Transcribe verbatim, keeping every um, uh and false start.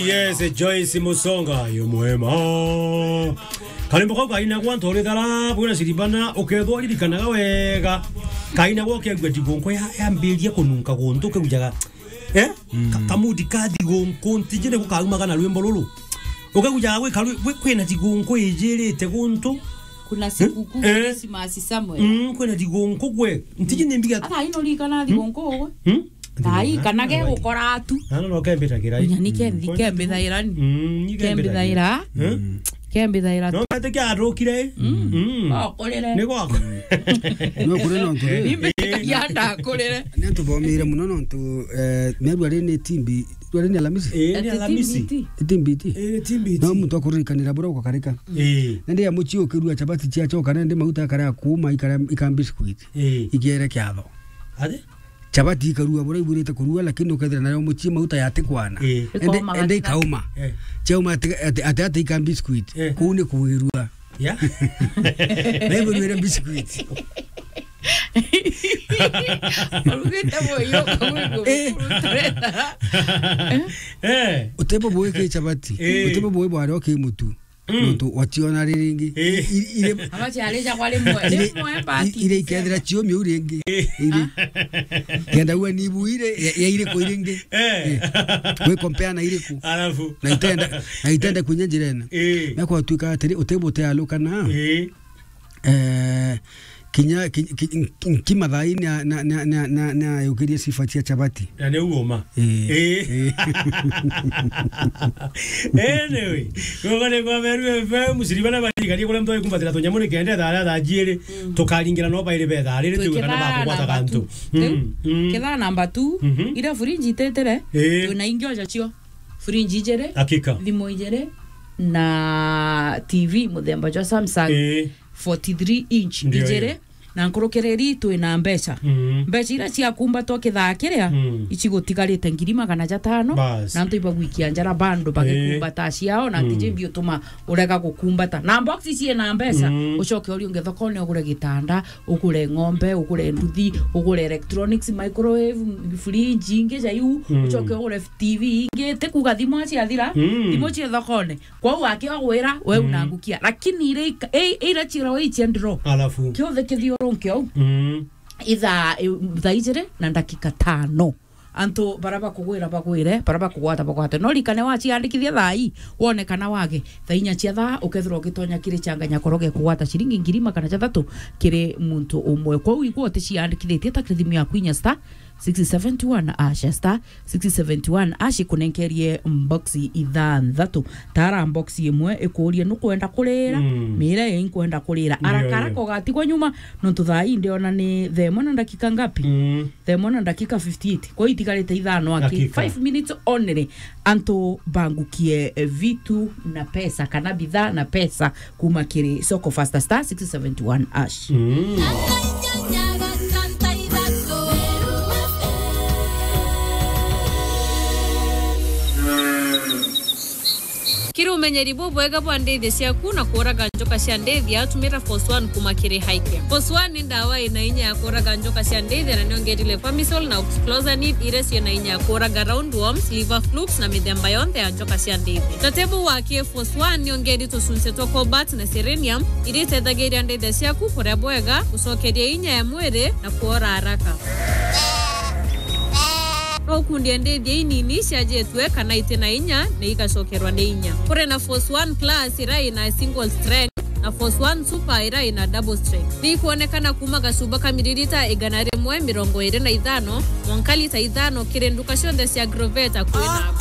Yes, Joyce Musonga, yu mwema. Karimbo kau kainagwa ntorithara, bwina ciribana, ukethwa uririkanaga wega. Kainagwa ukiagua thigunku ya, yambiria kununka guntu, ukiujaga, eh? Ka-, kamudi ka thigunku, ntiji ni gukaumaga na rwimbo ruru. Ukiujaga gwi karwi-, gwi-, kwina thigunku ijirite guntu. Kuna sikukuu, eh? Christmas somewhere. Mm, kwina thigunku gwe. Ntiji ni mbiga. Ata ino rikana thigunku gwe. Hmm? Thaa ii kana ge gukora tu. Na no kembitagira. Nya ni kethi kembithaira ni. Mm, ni kembithaira. Kembithaira. Hmm? Kembithaira. No mate kia atukire. Mm. Okurire. Ni gwako. No kuri no nturi. Ni mbitikia ndakurire. Ni tuthomire muno no ntu, eh, meru ari ni timbi, ari ni Alamisi. Eh, ni Alamisi. Timbiti. Timbiti. Eh, timbiti. No muntu akuririkanira bura ukakarika. Eh. Na ndia muci ukirua chapati cia choka na ndi mauta akara kuma ikara ikambi squid. Eh. Ikiere kiatho. Ati? Chapati ikarua bura ibwirite kurua, lakini ukethira nayo mucii mauta yatikwana. Ii. Ende, ikaoma ende ikaoma. Eh. Chauma ati, ati, ati, ati ika biscuit. Eh. Kuu ni kuirua. Ya? Na ibwirire biscuit. Urugite moyo, kawego, eh, kurutureta. Eh. Utebo bweke chapati. Eh. Utebo bwe bware oke mutu. Mm. Nontu wationa riringi. Eh. I-, ire Ama ciarija kwa rimwe, ire, rimwe i-, bati. Ire ikethira ciumia u ringi. Eh. Ire. Kenda uwe ni ibu ire, ya, ya iriku iringi. Eh. Eh. We compare na iriku. Alafu. Na itenda, na itenda kunya njira ina. Eh. Na kwa tuika atiri, utebo te alukana. Eh. Eh, kinya, ki-, ki-, nki mathaini na, na, na, na, na, na yukirie sifa cia chapati. Na ni uoma. Eh. Eh. Eh. Anyway, gogore kwa Meru F M, musiribana bariganie kuria mtoi kumbatira tunyamu ni kenda thaa, thaa jiiri, mm, tukaringira no bairi betha, riri twikana ba kugwata gantu. Riu, mm, mm, kithaa namba two, mhm, ira fridge itetire, eh, twina ingi oja cio. Fridge ijiri, hakika, thimu ijiri, na T V muthemba jwa Samsung, eh, forty-three inch, ndio, ijiri, iyo. Na nkurukiriri twina mbeca. Mm. Mbeca iria ciakumbatwa kithaa kiria, mm, icigutigarite ngiri magana jatano, bas, na antu ibagwikia njara bando, eh, bagikumbata ciao, na, mm, ntiji mbi utuma urega gukumbata. Na box ciina mbeca, mm, ucoke uriunge thokone ugure gitanda, ugure ng'ombe, ugure nduthi, ugure electronics, microwave, fridge, ingi ja iu, mm, ucoke ugure T V ingi, ti kuuga thimu ciathira, mm, thimu cie thokone. Kwou akiogwira, we, mm, unangukia. Lakini ire ika-, i-, ira chiro ichia ndiro. Alafu. Kiothe kithiurunke ou. Mm. Ithaa, i-, thaa ijiri na ndakika tano. Antu bara bakugwira bagwire, bara bakugwata bagwate. No rikane waciandikithia thaa ii, wone kana wage. Thaa inya cia thaa, ukethirwa ugitonya kiri changa nyakoroge kugwata ciringi ngiri magana jathatu kiri muntu umwe. Kwou igwe uticiandikithitie ta kiri thimu yaku inya star six seven two one hash, star six seven two one hash, ikunenkerie mbox ithanthatu. Tara mbox imwe ikuurie nukwenda kurira, mm, mira ii nkwenda kurira. Ndio, haraka haraka ndio. Ugatigwa nyuma, nontu thaa ii ndiona ni thaa imwe na ndakika ngapi? Mm. Thaa imwe na ndakika fifty-eight. Kwa hiyo itigarite ithano aki. Dakika. Five minutes only. Antu bangukie, eh, vitu na pesa, kana bidhaa na pesa, kuma kiri Soko Fasta star six seven one hash. Mm. Kiri umenyeri bubwega bwa ndithi ciaku na kuraga njoka cia ndithi, tumira Force One kuma kiri Highcare. Force One ni ndawa ina inya ya kuraga njoka cia ndithi na niongerire Pamisol na Oxyclosanid, iria ciina inya ya kuraga roundworms, liver flukes na mithemba yonthe ya njoka cia ndithi. Tatebu wa K Force One niongeri tucunci twa cobalt na selenium, iria itethagiria ndithia ciaku kuria bwega, gucokeria inya ya mwiri na kuora haraka. No ukundie ndithia inini ciajitue kana iti na inya na igacokerwa ni inya. Kuri na Force One Plus iria ina single strength na Force One Super iria ina double strength. Ni ikwonekana kuma gacuba ka miririta igana rimwe mirongo iri na ithano mwanka lita ithano kiri nduka cionthe cia Groveta kwina.